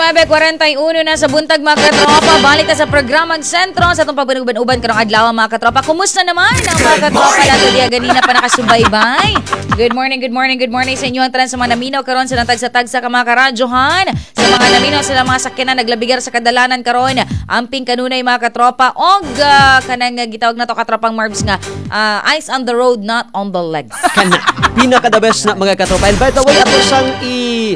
9:41 na sa buntag, mga katropa. Balik ta sa programang sentro sa atong pagbanuban-uban karong adlaw, mga katropa. Kumusta naman ang mga katropa nato diya ganina pa nakasubaybay? Good morning, good morning, good morning sa inyo ang tanan sa mga naminaw karon sa natagsa-tagsa ka mga karadyohan, sa mga naminaw sa mga sakyanan naglabigar sa kadalanan karon. Amping kanunay, mga katropa, og kanang gitawag nato, katropang Marbs, nga eyes on the road, not on the legs. Kana pinaka the best na, mga katropa. And by the way, ato sang i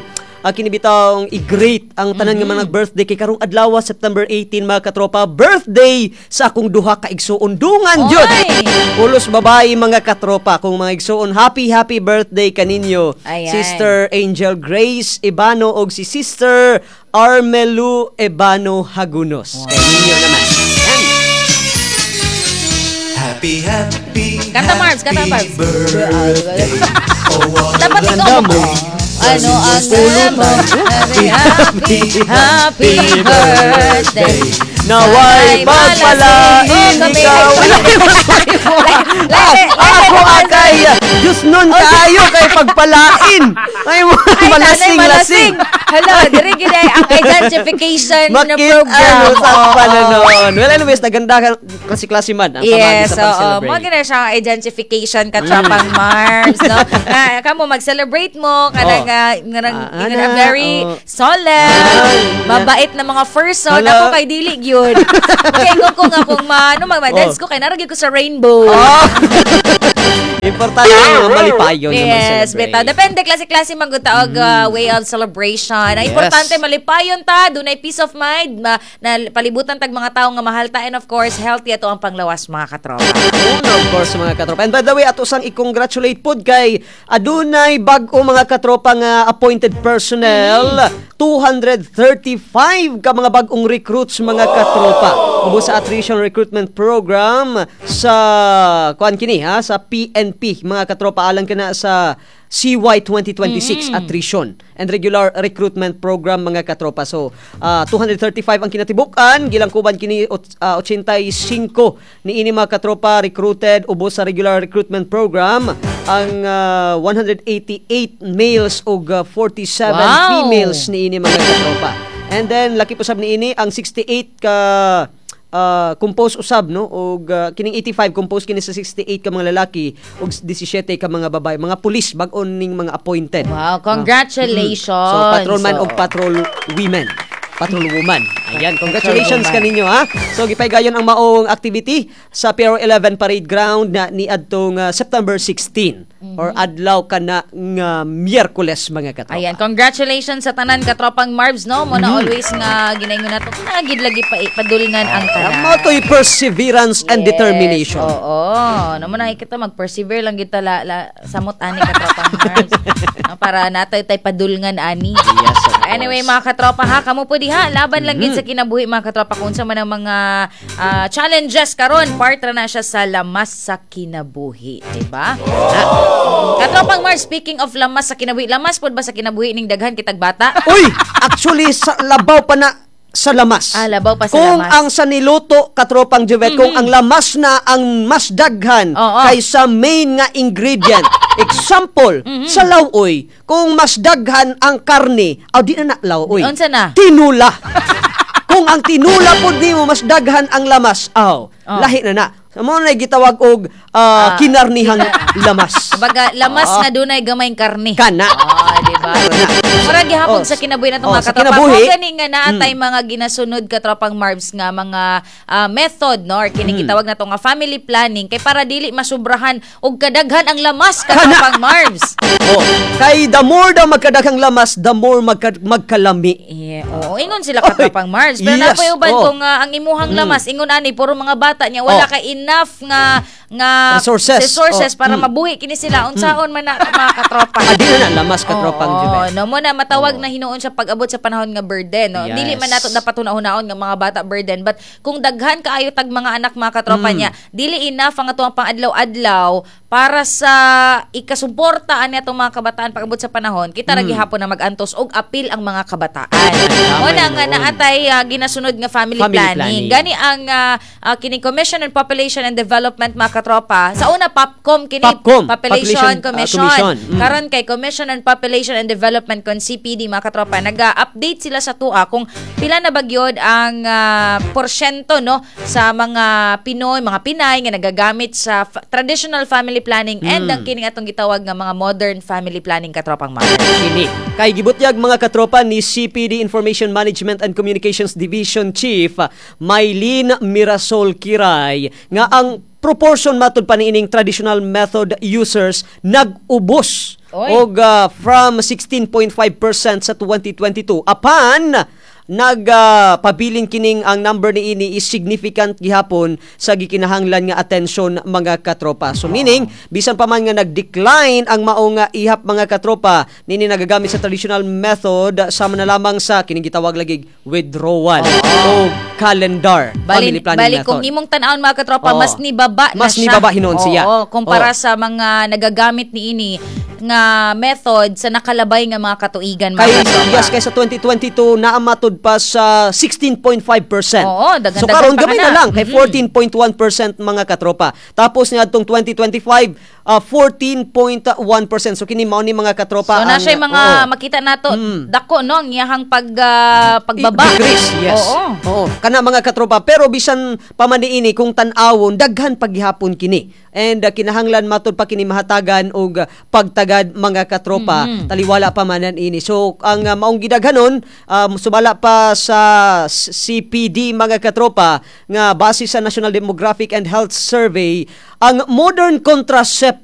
kinibitang i-greet ang tanan nga mga birthday kay karong adlaw, September 18, mga katropa, birthday sa akong duha ka igsuon, dungan jud. Oy! Pulos babae, mga katropa, kung mga igsuon, happy happy birthday kaninyo. Ayan. Sister Angel Grace Ebano og si Sister Armelu Ebano Hagunos. Kay ninyo naman. Yan. Happy, happy, Kanta, Marbs, kanta, happy Marbs. birthday. Oh, what a Dapat ikaw Ganda mo. Ano ang mo? Happy, happy, happy birthday. Naway pagpalain ikaw. Ako akay Diyos nun kaayo kay pagpalain. Ay mo Ay, malasing lasing. Hello, diri gid ay ang identification na Makit program. ano sa Oo. pananon. Well, anyways, naganda ka klase-klase man ang pamagi Yes, sa oo. pag-celebrate. Mo gina siya ang identification, katropang Marbs, no? Nga kamo mag-celebrate mo kanang ngarang Ah, ingon ana, na very solemn, mabait na mga person. Hala. Ako kay dili gyud. Kay ko nga kung maano mag-dance ko kay nara gyud ko sa rainbow. Oh. Importante nga malipayon nga Yes, mag-celebrate. bitaw. Depende klase-klase man gud ta og way of celebration. Ang importante malipayon ta, dunay peace of mind, na palibutan tag mga tawo nga mahal ta and of course healthy ato ang panglawas, mga katropa. Una, of course, mga katropa. And by the way, ato sang i-congratulate pod kay adunay bag-o, mga katropa, nga appointed personnel. 235 ka mga bag-ong recruits, mga katropa. Ubos sa attrition recruitment program sa kuan kini ha, sa PNP, mga katropa, alang kana sa CY 2026 attrition and regular recruitment program, mga katropa. So, 235 ang kinatibuk-an, gilangkuban kini 85 ni ini, mga katropa, recruited ubos sa regular recruitment program ang 188 males ug 47 females ni ini, mga katropa. And then laki po sab ni ini ang 68 ka compose usab, no, og kining 85 compose kini sa 68 ka mga lalaki ug 17 ka mga babae, mga pulis, bag-on ning mga appointed. Wow, congratulations. So patrolman og patrol women. Patrol woman. Ayan, congratulations Patrol woman. kaninyo ha. So gipaygayon ang maong activity sa PRO 11 Parade Ground na niadtong September 16 or adlaw kana nga Miyerkules, mga katropa. Ayan, congratulations sa tanan, katropang Marbs, no? Mo na always nga ginaingon nato na gid lagi pa padulngan ang tanan. Mao to'y perseverance and Yes, determination. oo. No mo na kita mag-persevere lang kita la samot ani, katropang Marbs. No, para natay tay padulngan ani. Yes, of Anyway, course. mga katropa ha, kamo po diha, laban lang gid sa kinabuhi, mga katropa, kung unsa man ang mga challenges karon, part ra na siya sa lamas sa kinabuhi, di ba? Katropang Marbs, speaking of lamas sa kinabuhi, lamas pod ba sa kinabuhi ning daghan kitag bata? Uy, actually sa labaw pa na sa lamas. Ah, labaw pa sa kung lamas. Ang sa niluto, katropang Juvet, kung ang lamas na ang mas daghan kaysa main nga ingredient. Example, sa lawoy, kung mas daghan ang karne, aw di na na lawoy. Unsa na? Tinula. Kung ang tinula pod nimo mas daghan ang lamas, aw, lahi na na. Mao na gitawag og kinarnihang lamas. Kumbaga, lamas nga dunay gamayng karne. Kana. Ah, di ba? Kana. Mura gihapon Oh, sa kinabuhi natong oh, mga sa katropa. kinabuhi. Kung gani nga naatay mga ginasunod, katropang Marbs, nga mga method, no, or kini gitawag nato nga family planning kay para dili masubrahan og kadaghan ang lamas, katropang Marbs. Oh, kay the more daw magkadaghang lamas, the more magkalami. Yeah, oo, ingon sila, katropang Marbs. Pero napoy uban kung ang imuhang lamas ingon ani puro mga bata niya, wala kay enough nga nga Resources. resources para mabuhi kini sila, unsaon man na, mga katropa? Ah, di na na lamas, katropang Oo, Juvet. no mo na matawag na hinuon siya pag-abot sa panahon nga burden, no. Dili man nato dapat hunahunahon nga mga bata burden, but kung daghan kaayo tag mga anak, mga katropa niya, dili enough ang atuang pang-adlaw-adlaw para sa ikasuporta ani atong mga kabataan pag-abot sa panahon, kita ra gihapon na mag-antos og apil ang mga kabataan. Tama Mo na nga yun. naatay ginasunod nga family, Family planning. planning. Gani ang kining Commission on Population and Development, mga katropa. Sa una POPCOM kini POPCOM, Population, Population, Commission. Commission. Karon kay Commission on Population Communication and Development kon CPD, mga katropa, naga-update sila sa tua kung pila na bagyod ang porsyento, no, sa mga Pinoy, mga Pinay nga nagagamit sa traditional family planning and ang kining atong gitawag nga mga modern family planning, katropang Mark. Kini kay gibutyag, mga katropa, ni CPD Information Management and Communications Division Chief Mylene Mirasol Kiray nga ang proportion matud pa niining traditional method users nag-ubos Oy. og from 16.5% sa 2022, apan nagpabilin kining ang number niini is significant gihapon sa gikinahanglan nga atensyon, mga katropa. So meaning, bisan pa man nga nag-decline ang maong nga ihap, mga katropa, nini nagagamit sa traditional method, sama na lamang sa kining gitawag lagi withdrawal o calendar Bali, family planning bali method. Kung imong tan-awon, mga katropa, mas nibaba na Mas siya. nibaba hinuon siya. Oo, kumpara sa mga nagagamit niini nga method sa nakalabay nga mga katuigan, mga Kay katropa. Yes, kay sa 2022 naa matud pa sa 16.5%. Oo, daghan-daghan So karon pa gamay ka na na. lang kay 14.1%, mga katropa. Tapos niadtong 2025, 14.1%. So kini mao ni, mga katropa, So na siya mga makita nato dako, no, ang iyahang pagbaba. Decrease, yes. Oo. Oo. Kana, mga katropa, pero bisan pa man niini, kung tan-awon, daghan paghihapon kini. And kinahanglan matud pa kini mahatagan og pagtagad, mga katropa, taliwala pa man ini. So ang maong gidaghanon, sumala pa sa CPD, mga katropa, nga base sa National Demographic and Health Survey, ang modern contraceptive